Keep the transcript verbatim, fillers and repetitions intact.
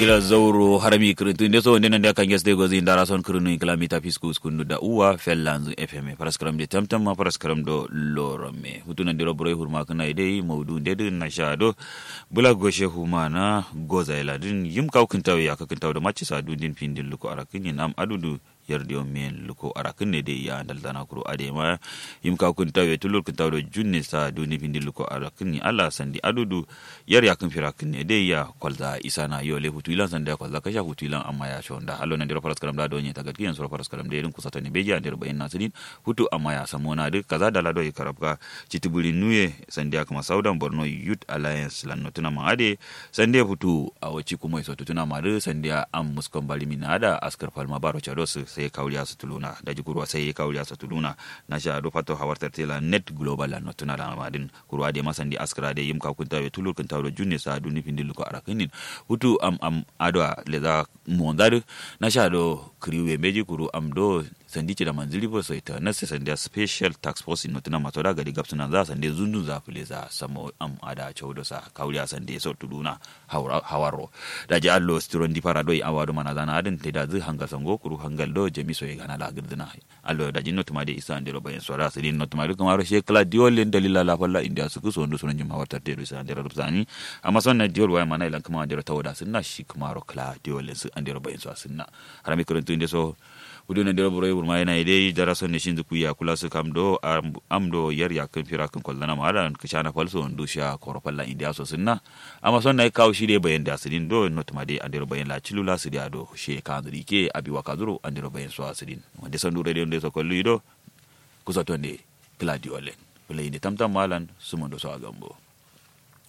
Kǝla zauro harami kǝrǝntǝ nde so nde nande akange sǝ dai gozi ndara son kǝrǝnu in kǝla mita fisku uskundu da uwa fellanzǝ fm faraskaram de tamtam ma faraskaram do loromme futu nandero buroi hurma kǝna ye dai maudu nde dǝ nasha do. Bǝla goshe humana goza ye ladǝn yim kawu kǝntawu ye yakka kǝntawu do macci sa dundin findin luko arakkǝnyin am adudu. Yar diyo men luko arakkǝnne dai ya ndalzana kuro adai ma yim kawu kǝntawu ye tullur kǝntawu do junne sa dundin findin luko arakkǝnyin allah sandi adudu. Yar yakkǝn firakkǝnne dai ya kwalza isana yo lai futu ilan sandi ya kwalza kasha futu ilan amma ya shonda allo nandero faraskaram da do nye tagatki yan suro faraskaram dai dǝn kusato ne beji andero bayin nasǝdin. Futu amma ya samona dǝ kaza dala do ye karabka. Citibǝri nuye sandiya kǝma saudan borno youth alliance lan notuna ma ade. Sandiya futu awo ci kumo ye sotutuna ma dǝ sandiya am muskon bari min ada askar falma baro cado sǝ sai kawuliya sǝ tuluna daji kurwa sai kawuliya sǝ tuluna. Nasha do fato hawar tartela net global lan notuna da ma dǝn. Kurwa de ma sandi askara de yim kawu kǝntawu ye tulur kǝntawu do junne sa duni findi luko arakkǝnin. Futu am am adwa leza monza dǝ. Nasha do kǝriwu ye mbeji kuru am do sandi cida manzǝ ribo so ita nase sandiya special task force notuna ma soda gadi gabsǝnanza sande zundunza fǝleza samo am ada caudo sa kawuliya sande so tuluna. Hawarro. Daji allo sitiro ndi fara doi awa do manazana adǝn taidazǝ hangal sango kuru hangal do jami so ye gana la gǝrdǝna. Allo daji notuma de isa andero bayin sora sǝdin notuma de kǝmaro she kǝla diwol len dalila la falla indiya sǝkǝ so ndu suno njim hawar tartero isa andero rubsani. Amma son na diwol waya mana ilan kǝma andero tawoda sǝnna shi kǝmaro kǝla diwol len sǝ andero bayin so asǝnna. Harami kǝrǝntǝ nde so. Fudu nandero buroi wurma yena ye dai dara son ne shinzǝ kuya kula sǝ kam do am do yar yakkǝn firakkǝn kolzana ma adan kǝshana fal so ndu sha koro falla indiya so sǝnna. Amma son nayi kawu shi dai bayen da sǝdin do notuma dai andero bayen la cilu la sǝdiya do shiye kanzǝ dǝ ike abi wakazuro andero bayen so asǝdin. Wande son du radio nde so kollu yi do. Kusoto nde. Kǝla diwol len. Bǝla yi nde tamtam ma lan sumo ndo so agambo.